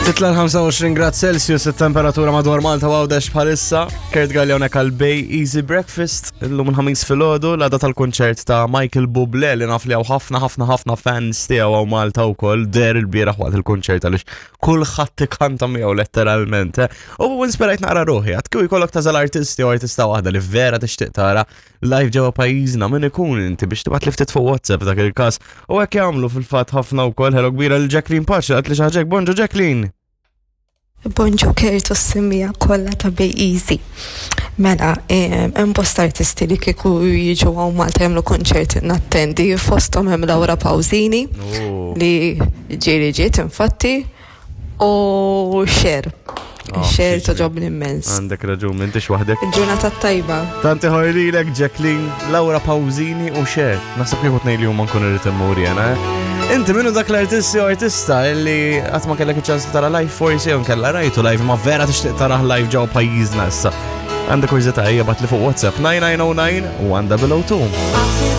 Titla l-25 grad Celsius it-temperatura madwar Malta u Għawdex bħalissa. Kurt Galli hawnhekk għal Bay Easy Breakfast illum il-ħamis filgħodu l-għada tal-kunċert ta' Michael Bublé li naf li hawn ħafna ħafna ħafna fans tiegħu hawn Malta wkoll der il-bieraħ waqt il-kunċert għaliex kulħadd ikanta miegħu letteralment. Eh. U inspirajt naqra ruħi, għad kieku jkollok tażel artisti u artista waħda li vera tixtieq tara live ġewwa pajjiżna min ikun inti biex tibgħat li ftit fuq WhatsApp dak il-każ. U hekk jagħmlu fil-fatt ħafna wkoll ħelo kbira lil Jacqueline Pace qalt li xi ħaġa Bonġu Jacqueline. Bonġu Kurt u s-simmija kollha ta' Bay Easy. Mela, hemm bosta artisti li kieku jiġu hawn Malta jagħmlu konċert nattendi, fosthom hemm Laura Pausini oh. li ġieli ġiet infatti U xer. Ah, xer toġobni immens. Għandek raġun, m'intix waħdek. Il-ġurnata tajba. Tanti ħorlilek, Jacqueline, Laura Pausini u xer. Naħseb kieku tnej li huma nkun irrid immur jena. Eh? Inti minnu dak l-artisti u artista illi qatt ma kellek iċ-ċans tara live forsi jew kella rajtu live ma vera tixtieq tara live ġew pajjiżna issa. Għandek kurżità hija bat li fuq WhatsApp 9909 u 1002.